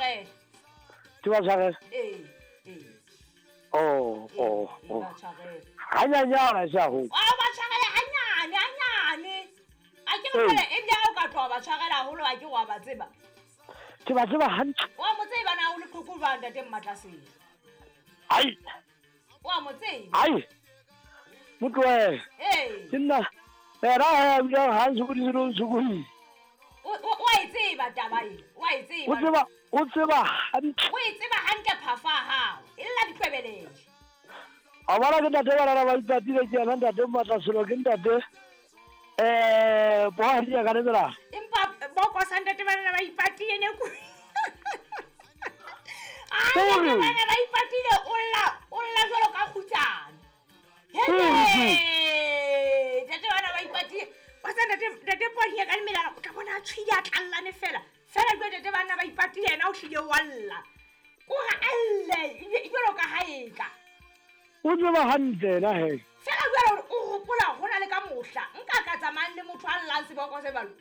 tshwarele. Ke ba tshwarele? Ee, ee. Oh, oh, Ee, oh. ba tshwarele. Hanyanyana sa ho. A ba tshwarele hanyane, hanyane. A ke re Ee. fela ebile ha o ka tloha ba tshwarela haholo a ke wa ba tseba. Ke ba tseba hantle. Wa mo tseba na o le qhoko jwang ntate Mmatlasele? Ai, Wa mo tseba? ai. Motloe. Ee. Ke nna. Era ha bile ha sokodise no sokodise. O a e tseba taba e. O a e tseba. O tseba, o tseba hantle. O e tseba hantle phafa ya hao. E lla ditlwebelele. A bona ke ntate ba rara ba ipatile ke yena ntate Mmatlaselo ke ntate bohadi ya ka lebela. Empa boko sa ntate ba ba ipatile ne ku. Ai, Ore. ntate bana ba ipatile o lla, o lla jwalo ka kgutsana. Ore. Hele! Ntate bana ba ipatile. Wa tseba ntate ntate Ponya ka lemelana o tla bona a tshwile a tlallane fela. Fela jwale ntate bana ba ipatile yena o hlile wa lla. O re a lle jwalo ka ha eka. O tseba hantle yena he. Fela jwale hore o hopola ho na le ka mohla nka ka tsamayang le motho a llang seboko se jwalo.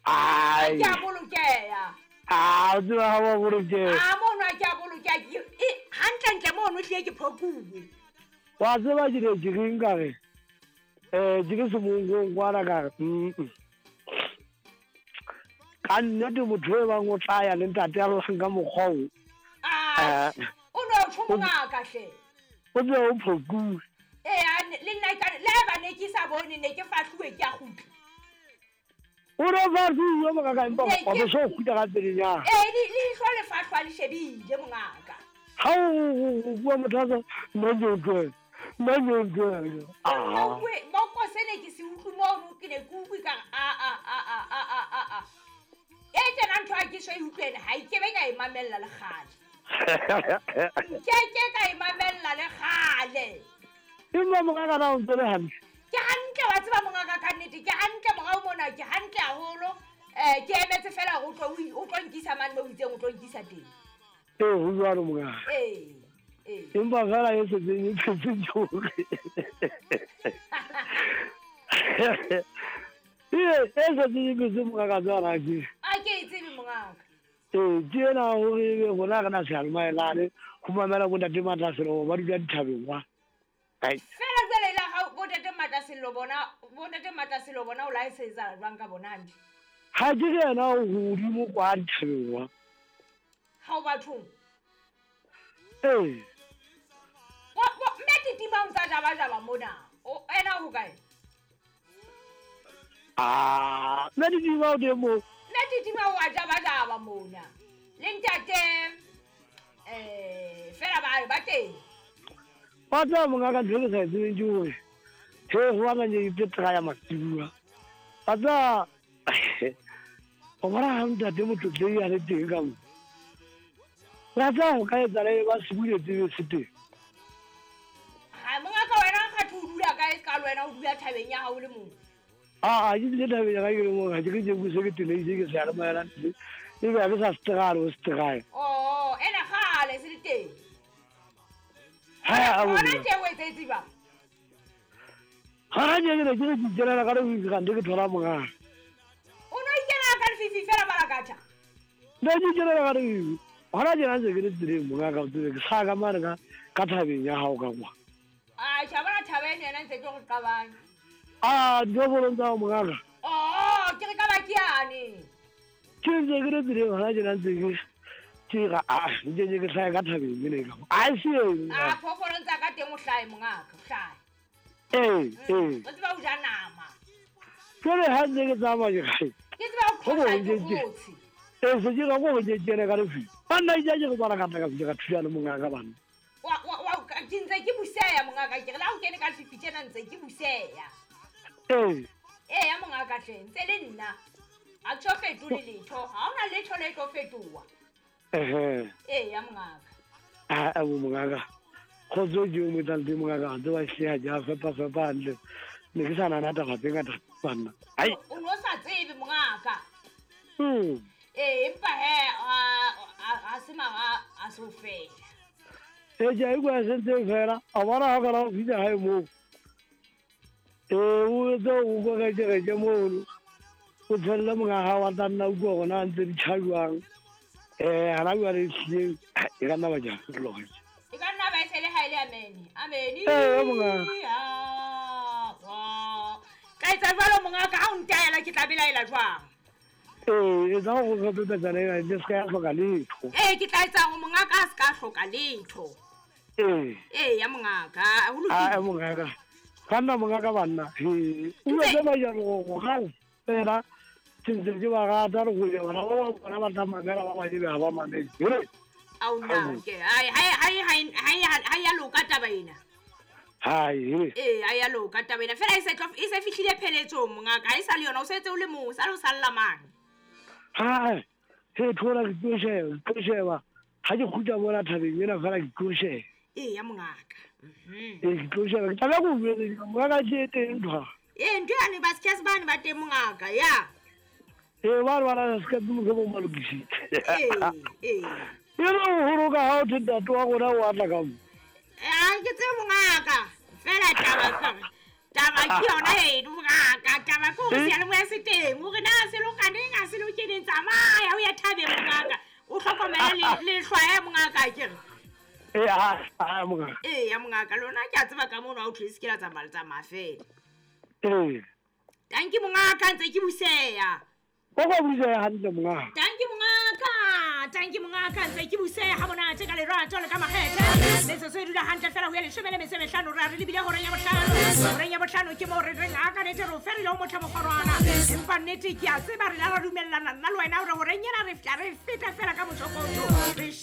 Ai. Ke a bolokeha. Ah, o tseba ha wa bolokeha. A mono a ke a bolokeha. Hantlentle mono hlile ke phokuwe. Wa tseba ke ne ke reng ka re? Ke le semongkong kwana ka re, mm. Ka nnete motho e bang o tla ya le ntate a llang ka mokgwa o. Ah, o no tjho mongaka hle. O tseba o phokuwe. Ee, le nna ka le ha ba ne ke sa bone ne ke fahluwe ke a kgutla. O no fahluwe mongaka empa Ne ke wa bo so kgutla ka pelenyana. Ee, leihlo le fahlwa le shebile mongaka. Ha o bua motho a sa nna ke utlwele. Nna ke utlwele. Ah. Boko se ne ke se utlwe mono ke ne ke utlwe ka re, a, a, a, a, a, a, a, a. E tjena ntho ha ke so e utlwele, ha e kebe ka e mamella le kgale. Nke ke ka e mamella le kgale. Empa mongaka na o ntse le hantle? Ke hantle wa tseba mongaka ka nnete, ke hantle morao mona, ke hantle haholo. Ke emetse fela hore o tlo nkisa mane moo o itseng o tlo nkisa teng. Ee, ho jwalo mongaka. Ee, ee. Empa fela e setseng e tletse ke hore. Ee, e setseng e tletse mongaka tswana ke. A ke e tsebe mongaka. Ee, ke ena hore ebe rona re na seyalemayelane ho mamela bo ntate Matlaselo ba dula dithabeng wa. Ai. Fela jwale la hao bo ntate Matlaselo bona, bo ntate Matlaselo bona o la e se etsahala jwang ka bona hantle? Ha ke re yena o hodimo kwa dithabeng wa. Ha o bathong? Ee. Mme Titima o ntsa jaba-jaba mona. O, ena ho kae? Ah, mme Titima o teng moo. Mme Titima o a jaba-jaba mona. Le ntate, fela ba teng. Wa tseba mongaka ntho e ke sa e tsebeng ke hore, he ho bana ke itse try mantsibuya. Wa tseba, o bona ha ntate Motlotlehi a le teng ka mo. Wa tseba ho ka etsahala e ba se buletse be se teng. Ha mongaka wena kgathe o dula kae se ka le wena o dula thabeng ya hao le mong? Ah, ke dule thabeng ya ka ke le mong, ha ke re ke buse ke tenehile ke seyalemoya ebe ha ke sa se try o se try. Oh, ena kgale se le teng. Ha, a Hona bona. tje o etsetse jwang? Hona tje ke ne ke re ke ikenela ka lefifi kante ke thola mongaka. O no ikenela ka lefifi fela Malakatha? Ne ke ikenela ka lefifi. Hona tjena ntse ke le tseleng mongaka, o tsebe ke sa ka mane ka thabeng ya hao ka kwa. Ah, tjha bona thaba eno yena ntse ke re qabang. Ah, diphoofolo tsa hao mongaka. Oh, ke re ka ba ke yane. Ke ntse ke le tseleng hona tjena ntse ke re, ah, ntse ke hlahe ka thabeng ene ka kwa. Ah, se eng, Ah, phoofolong tsa ka teng o hlahe mongaka, o hlahe. Ee, ee. O tseba ho ja nama. Jwale ha ntse ke tsamaya ke re, Ke tseba ho Ho qhosa bo ke ke- ke- kgotsi. Ee, se ke ra ko ke kene ka lefifi. Banna ke ke re bana ka tla ka fihla ka thulana mongaka banna. Ke ntse ke buseya mongaka, ke re le ha o kene ka lefifi tjena ntse ke buseya. Ee. Ee, ya mongaka hle, ntse le nna. Ha ke so fetole letho, ha hona letho le tlo fetoha. Ehe. Ee, ya mongaka. Ah, ah, bo mongaka. Kgotso ke o mo etsang teng mongaka, ha tseba hle ha ke a fepa fepa hantle. Ne ke sa nahana taba tse ngata banna. Ai. O no sa tsebe mongaka. Ee, empa he, ha se mara, ha se ho fela. Ee, ke a utlwa e sentse e fela. A bona ha o kana o fihla hae moo. Ee, o etse o korekereke mono. O tshelle monga hao wa tla nna utlwa hore na ntse di tjha jwang. Hana jwale ehlile e ka nna ba ke a fetola gantsi. E ka nna ba e se le ha e le amene. Amene. Ee, mongaka. Ka etsa jwalo mongaka, ha o ntaela ke tla belaela jwang? Ee, etsa gore re pepetsana ena le se ka ya hloka letho. Ee, ke tla etsa gore mongaka a se ka hloka letho. Ee. Ee, ya mongaka, ho lokile. Ae mongaka. Banna mongaka banna. He. O Ntse- tse ba ja go ga fela. Ke ntse ke ba rata le go ya bana ba bang bona ba tla mamela ba bang ebe ha ba mamele. He. Ao nna ke ai hai hai hai hai ha ya loka taba ena. Hai, he. Ee, ha ya loka taba ena. Fela e se tlo e se fihlile pheletsong mongaka, ha e sa le yona o setse o le mong, o sa le o salla mang. Hai. He thola ke tlo sheba, ke tlo sheba. Ha ke kgutla mona thabeng ena fela ke tlo sheba. Ee, ya mongaka. Ee, ke tlo sheba. Ke tla be ke o jwetse, mongaka ke e teng ntho. Ee, ntho yane ba se bane ba teng mongaka, ya. Ee, ba re bana se ka mohlomong ba lokisitse. Ee, ee. E le ho holoka ha o the ntate wa rona o atla ka mo. Ha ke tsebe mongaka. Fela taba ke hore taba ke yona eno mongaka. Taba ke hore seyalemoya se teng. Hore na se loka neng, ha se loke neng, tsamaya o ye thabeng mongaka. O hlokomele lehlwa ya mongaka akere. Ee, ha, ha, mongaka. Ee, ya mongaka, lona ke a tseba ka mono ha o thwe se ke la tsamaya le tsamaya fela. Ee. Tanki mongaka, ntse ke buseya. O ka buseya hantle mongaka. Tanki mongaka, tanki mongaka, ntse ke buseya ha monate ka lerato le ka makgethe. Metsotso e dula hantle fela ho ya 15, re a re lebile horeng ya bohlano. Horeng ya bohlano ke moo re reng a ka nete re o ferile ho motho mokgorwana. Empa nnete ke a tseba re la ra dumellana nna le wena hore horeng ena re fihla re feta fela ka motsokotso. Re